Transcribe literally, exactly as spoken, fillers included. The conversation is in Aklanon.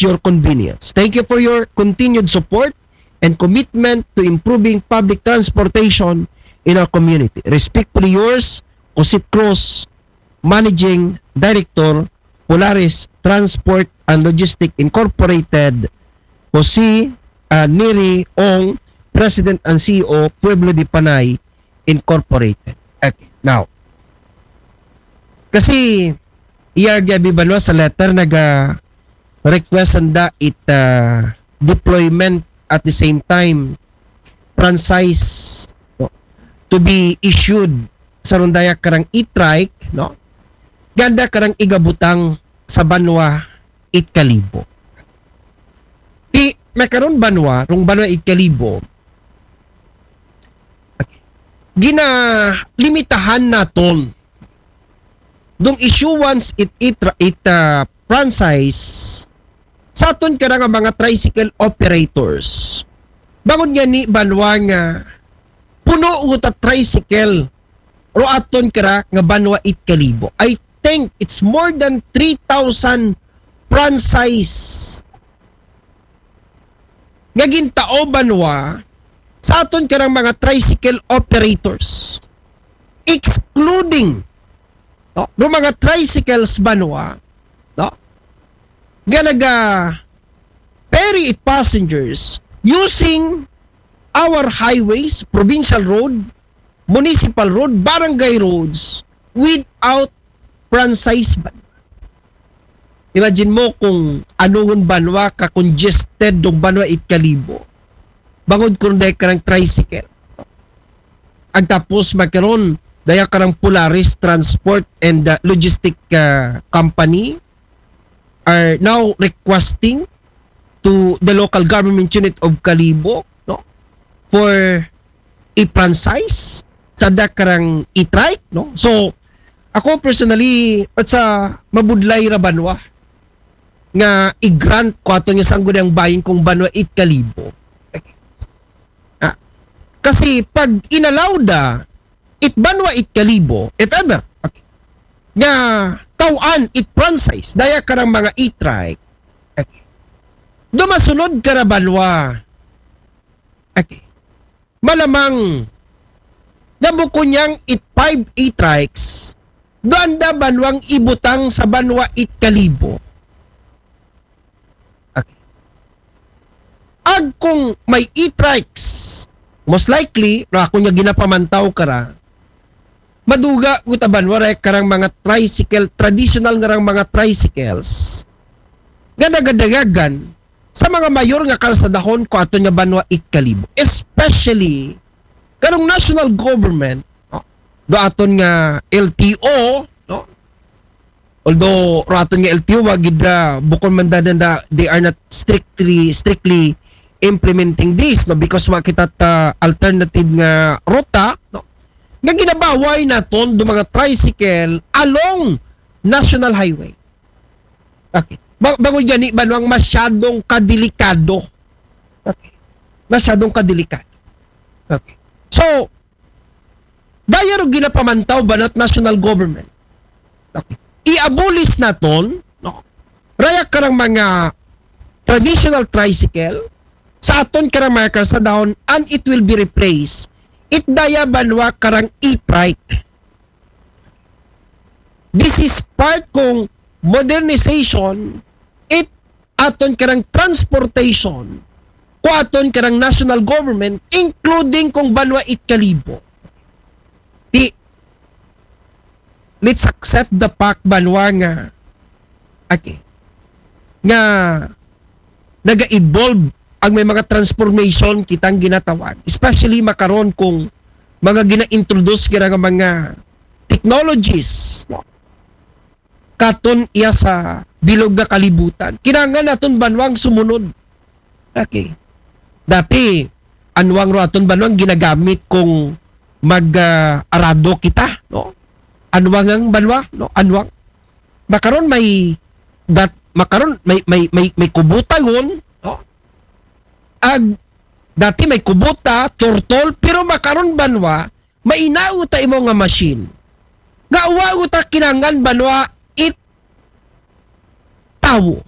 your convenience. Thank you for your continued support and commitment to improving public transportation in our community. Respectfully yours, Osit Cruz, Managing Director, Polaris Transport and Logistics Incorporated, Jose uh, Neri Ong, President and C E O, Pueblo de Panay Incorporated. Okay, now, kasi iyarga bi banwa sa letter naga request sanda it uh, deployment at the same time franchise, no, to be issued sa rundaya karang e-trike, no? Ganda karang igabutang sa banwa it Kalibo. Ti makaron banwa, rung banwa it Kalibo, ginalimitahan naton dung issuance it, it, it uh, franchise sa aton kara nga mga tricycle operators. Bangod nga ni banwa nga puno uta tricycle ro aton kara nga banwa it Kalibo. I think it's more than three thousand franchise nga gintao banwa sa aton karang mga tricycle operators, excluding, no, no mga tricycles banwa, no, nga naga ferry it passengers using our highways, provincial road, municipal road, barangay roads without franchise ban. Imagine mo kung anungon banwa ka congested dong banwa it Kalibo. Bangod kung dahil ka ng tricycle. Ang tapos magkaroon, daya ka ng Polaris Transport and uh, Logistic uh, Company are now requesting to the local government unit of Kalibo, no, for a franchise sa dakarang e-trike, no? So, ako personally, at sa mabudlay ra banwa nga i-grant ko ato nga sangguniang bayan kung banwa it Kalibo. Ah, kasi pag inallow da it banwa it Kalibo, if ever, okay, nga tawaan it franchise daya karang mga e-trike, okay, dumasunod kara banwa, okay, malamang nga bukon niyang it five e-trikes, doon da banwang ibutang sa banwa it Kalibo. Okay. Ag kung may e-trikes, most likely, no, ako niya ginapamantaw kara, maduga utaban waray karang mga tricycle, traditional nga rang mga tricycles nga nagadagagan sa mga mayor nga kalsadahon ko aton nga banwa it Kalibo, especially karong national government, no, do aton nga L T O, no? Although raton nga L T O, wagid ra, bukon man da, da, they are not strictly strictly implementing this, no, because wa kita ta alternative nga ruta, no, nga ginabaway naton do mga tricycle along national highway. Okay. Ba- bangod gani banwang masyadong kadelikado. Okay. Masyadong kadelikado. Okay. So, daya ro ginapamantaw banat national government. Okay. I-abolish naton, no? Raya karang mga traditional tricycle sa aton karang mga kalsadahon and it will be replaced it daya banwa karang e-trike. This is part kung modernization it aton karang transportation ko aton karang national government, including kung banwa it Kalibo. Ti, let's accept the fact banwa nga, okay, nga naga-evolve ang may mga transformation kitang ginatawag, especially makaron kung mga gina-introduce kira nga mga technologies katon iya sa bilog nga kalibutan. Kinahanglan naton banwang sumunod. Okay. Dati, anwang ro aton banwang ginagamit kung mag ah, arado kita, no? Anwang ang banwa, no? Anwang. Makaron may dat makaron may may may, may kubuta yun, no? Ag dati may kubuta, turtol, pero makaron banwa, mainao ta imo nga machine. Nga wa ta kinahanglan banwa it tawo.